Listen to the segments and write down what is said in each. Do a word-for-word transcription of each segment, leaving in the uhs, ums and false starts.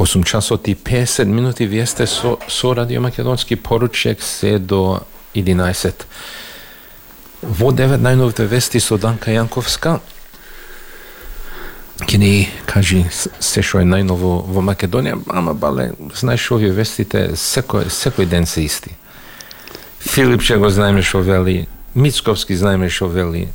осум часот и песет минути вие сте со, со Радио Македонски поручек се до единаесет. Во девет најновите вести со Данка Јанковска. Ке ни кажи се што е најново во Македонија, ама бале, знаеш овие вестите секој, секој ден се исти. Филипче го знаеме што вели, Мицковски знаеме што вели.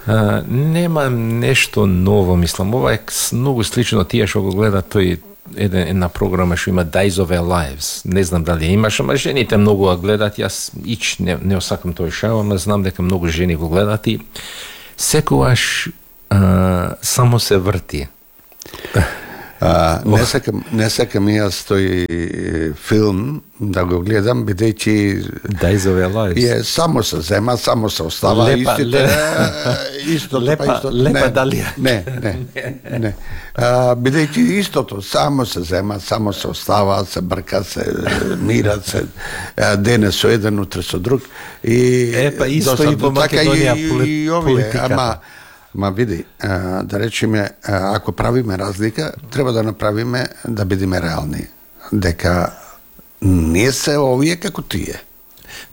А, нема нешто ново, мислам. Ова е многу слично тие што го гледа тој една, една програма што има Days of Our Lives. Не знам дали имаш, ама жените многу го гледат. Јас ич не, не осакам тој шоу, ама знам дека многу жени го гледат и секогаш а, само се врти. А, не сакам, не сакам јас тој филм да го гледам, бидејќи Days of Our Lives е само се зема, само се остава лепа, истите, лепа, истото, лепа, па истото. лепа не, дали. Не, не, не. А, бидејќи истото, само се зема, само се остава, се брка, се мира, се дене со еден, утре со друг. И Епа, исто и во Македонија и, поли, и овие, политиката. ама Ма види, а, да речеме, а, ако правиме разлика, треба да направиме да бидеме реални. Дека не се овие како тие.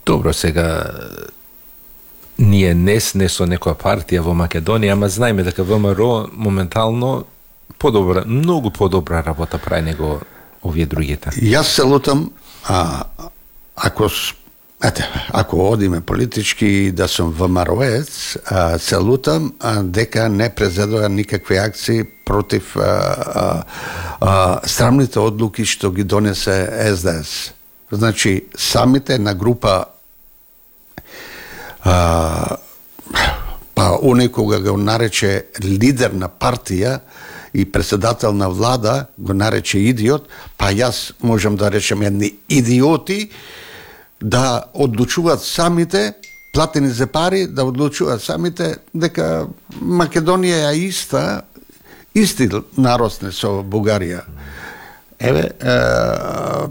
Добро, сега ние не сме со некоја партија во Македонија, ама знаеме дека ВМРО моментално подобра, многу подобра работа прави него овие другите. Јас се лутам, а, ако ете, ако одиме политички да сум ВМРО-ец, се лутам а, дека не презедоа никакви акции против а, а, а, срамните одлуки што ги донесе Ес Де Ес. Значи, самите на група а, па оној кога го нарече лидер на партија и председател на влада, го нарече идиот, па јас можам да речем едни идиоти, да одлучуваат самите, платени за пари, да одлучуваат самите дека Македонија е иста, исти наросне со Бугарија. Еве, е,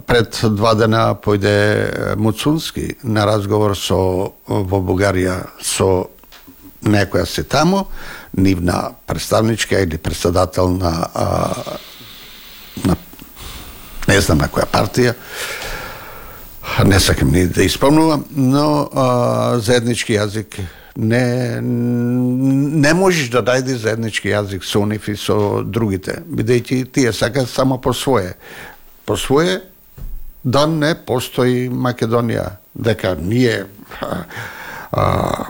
пред два дена појде Муцунски на разговор со во Бугарија со некоја се тамо, нивна представничка или председател на, а, на не знам на која партија, не сакам ни да испомнувам, но а, заеднички јазик не не можеш да најдеш заеднички јазик со нив и со другите, бидејќи тие сакаат само по свое. По свое да не постои Македонија, дека ние а, а,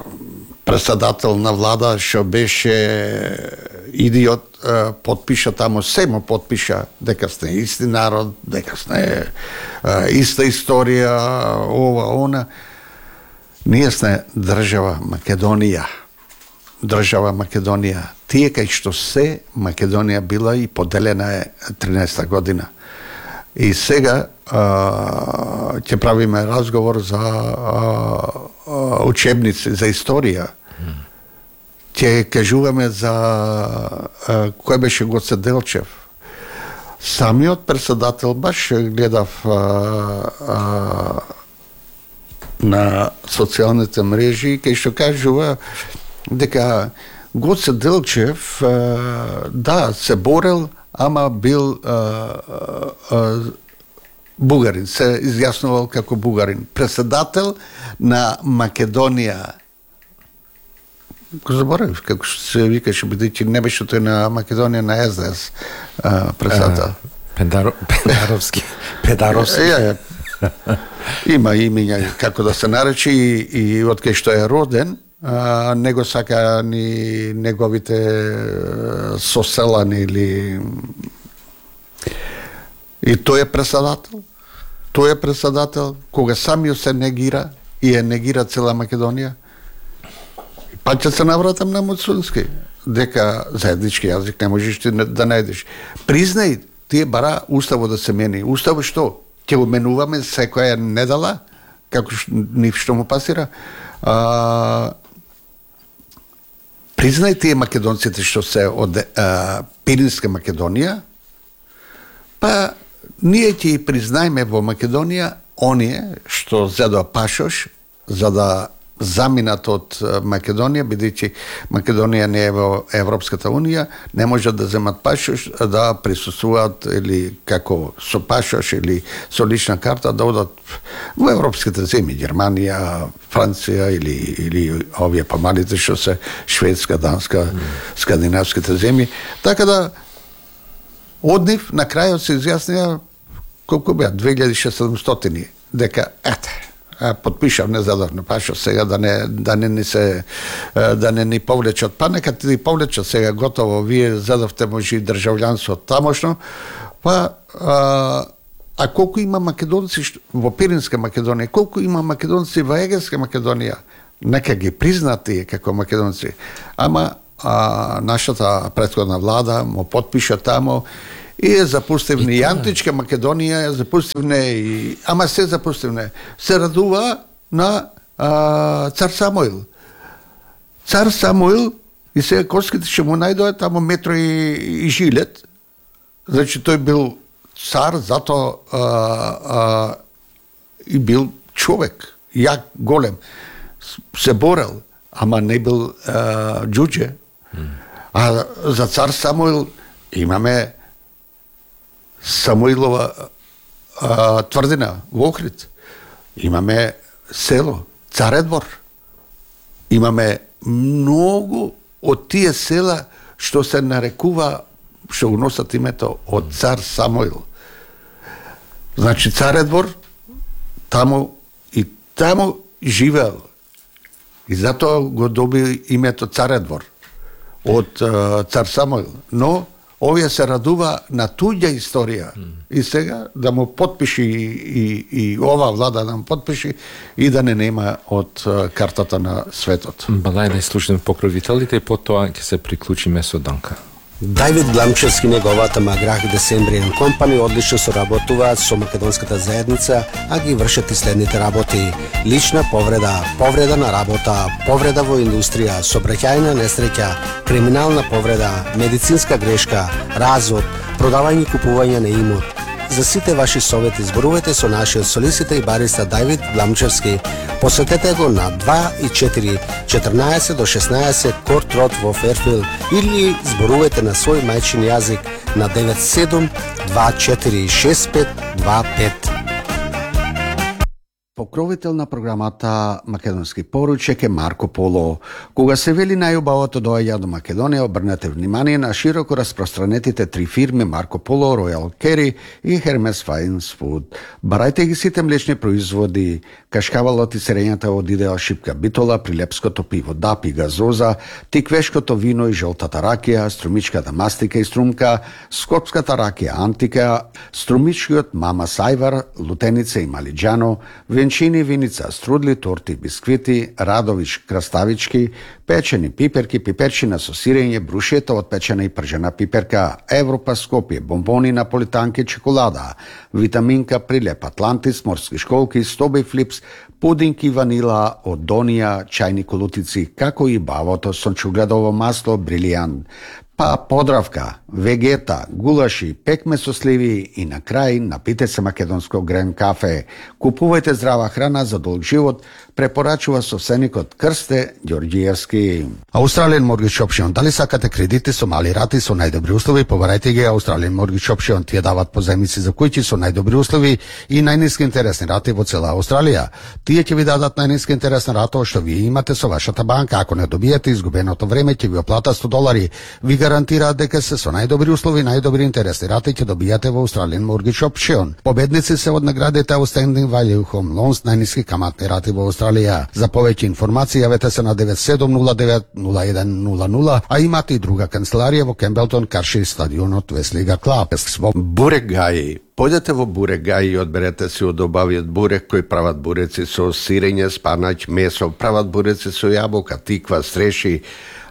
председател на влада што беше идиот, подпиша тамо, семо подпиша дека сте исти народ, дека сте иста историја, ова, она. Ние сме држава Македонија. Држава Македонија. Тие кај што се Македонија била и поделена е тринаесета година. И сега а, ќе правиме разговор за а, учебници, за историја. Ќе кажуваме за а, кој беше Гоце Делчев. Самиот председател баш гледав а, а, на социјалните мрежи кај што кажува дека Гоце Делчев а, да се борел, ама бил а, а, бугарин, се изјаснувал како бугарин, председател на Македонија. Го заборавив како се викаше, бидејќи не беше тој на Македонија, на Ес Де Ес председател. Педаро, Педаровски. Педаровски. Е, е, има имиња како да се наречи и, и од кај што е роден, а, не го сака ни неговите соселани или и тој е председател. Тој е председател кога самиот се негира и е негира цела Македонија. Па ќе се навратам на Муцунски, дека заеднички јазик не можеш ти да најдеш. Признај, тие бара уставот да се мени. Уставот што? Ќе го менуваме секоја недела, како нив што му пасира. А, признај тие македонците што се од а, Пиринска Македонија, па ние ќе и признајме во Македонија оние што зедоа пашош за да заминат од Македонија, бидејќи Македонија не е во Европската унија, не можат да земат пашош, да присуствуваат или како со пашош или со лична карта да одат во европските земји, Германија, Франција или или овие помалите што се Шведска, Данска, mm. скандинавските земји. Така да од нив на крајот се изјаснија колку беа две илјади и седумстотини дека ете потпишав незадовно пашо сега да не да не ни се да не ни повлечат, па нека ти повлечат сега готово, вие задавте може и државјанство тамошно, па а, а колку има македонци во Пиринска Македонија, колку има македонци во Егејска Македонија, нека ги признати како македонци, ама а, нашата претходна влада му потпиша тамо и е запустивне и античка Македонија, е запустивне и ама се запустивне. Се радува на а, цар Самуил. Цар Самуил и сега коските ќе му најдоа тамо метро и, и жилет. Значи тој бил цар, зато а, а, и бил човек, јак, голем. Се борел, ама не бил а, џуџе. А за цар Самуил имаме Самуилова а, тврдина во Охрид. Имаме село Царедвор. Имаме многу од тие села што се нарекува, што го носат името од цар Самуил. Значи Царедвор таму и таму живеел. И затоа го доби името Царедвор од а, цар Самуил. Но овие се радува на туѓа историја mm. и сега да му потпиши и, и, и ова влада да му потпиши и да не нема од картата на светот. Балај да слушнем покровителите и потоа ќе се приклучиме со Данка. Давид Гламчевски и неговата Маграх Десембријан компани одлично соработуваат со македонската заедница, а ги вршат и следните работи: лична повреда, повреда на работа, повреда во индустрија, сообраќајна несреќа, криминална повреда, медицинска грешка, развод, продавање и купување на имот. За сите ваши совети зборувајте со нашиот солиситор и бариста Давид Гламчевски. Посетете го на два и четири, четрнаесет до шеснаесет Корт Род во Ферфилд или зборувајте на свој мајчин јазик на девет седум два четири шест пет два пет. Покровител на програмата Македонски поручек е Марко Поло. Кога се вели најубавото доаѓа до Македонија, обрнете внимание на широко распространетите три фирми Марко Поло, Royal Carry и Hermes Fine Food. Барајте ги сите млечни производи, кашкавалот и сирењата од Идеал Шипка Битола, прилепското пиво Дап и газоза, тиквешкото вино и жолтата ракија, струмичката мастика и струмка, скопската ракија Антика, струмичкиот Мама Сајвар, лутеница и малиџано, венчини, виница, струдли, торти, бисквити, Радович, краставички, печени пиперки, пиперчина со сирење, брушета од печена и пржена пиперка, Европа Скопје, бомбони, наполитанки, чоколада, витаминка, прилеп Атлантис, морски школки, Стоби Флипс, пудинки ванила од Донија, чајни колутици, како и бавото сончугледово масло Брилијант, па подравка, вегета, гулаши, пекме со сливи и на крај напите се македонско грен кафе. Купувајте здрава храна за долг живот, препорачува собственикот Крсте Ѓорѓиевски. Australian Mortgage Option. Дали сакате кредити со мали рати со најдобри услови, побарајте ги Australian Mortgage Option. Тие дават позајмици за куќи со најдобри услови и најниски интересни рати во цела Австралија. Тие ќе ви дадат најниска интересна рата што вие имате со вашата банка. Ако не добиете изгубеното време, ќе ви оплата сто долари. Ви гарантираат дека се со најдобри услови, најдобри интересни рати ќе добијате во Australian Mortgage Option. Победници се од наградите Outstanding Value Home Loans, најниски каматни рати во Австралија. За повеќе информации јавете се на девет седум нула девет нула еден нула нула, а имате и друга канцеларија во Кембелтон, Карши, стадионот Веслига Клаб. Бурегаји. Појдете во Бурегаји и одберете си од обавиот бурек кој прават буреци со сирење, спанаќ, месо, прават буреци со јаболка, тиква, стреши,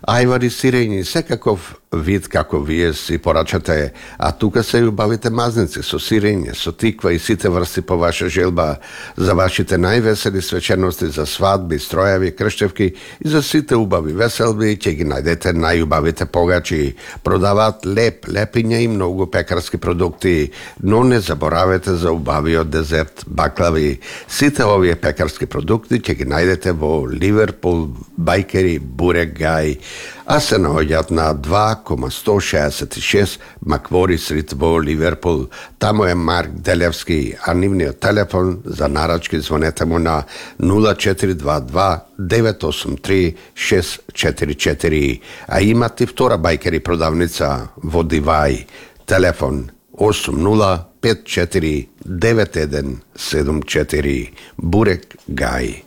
ајвари, сирење, секаков вид како вие си порачате, а тука се и убавите мазници со сирење, со тиква и сите врсти по ваша желба, за вашите највесели свечености, за свадби, стројави, крштевки и за сите убави веселби, ќе ги најдете најубавите погачи. Продаваат леп, лепиња и многу пекарски продукти, но не не заборавете за убавиот дезерт, баклави. Сите овие пекарски продукти ќе ги најдете во Ливерпул Бајкери Бурек Гај, а се наоѓаат на два сто шеесет и шест Маквори Стрит во Ливерпул. Таму е Марк Делевски, а нивниот телефон за нарачки звонете му на нула четири два два девет осум три шест четири четири, а имате втора Бајкери продавница во Дивај. Телефон осум нула пет четири девет еден седум четири. Бурек Гај.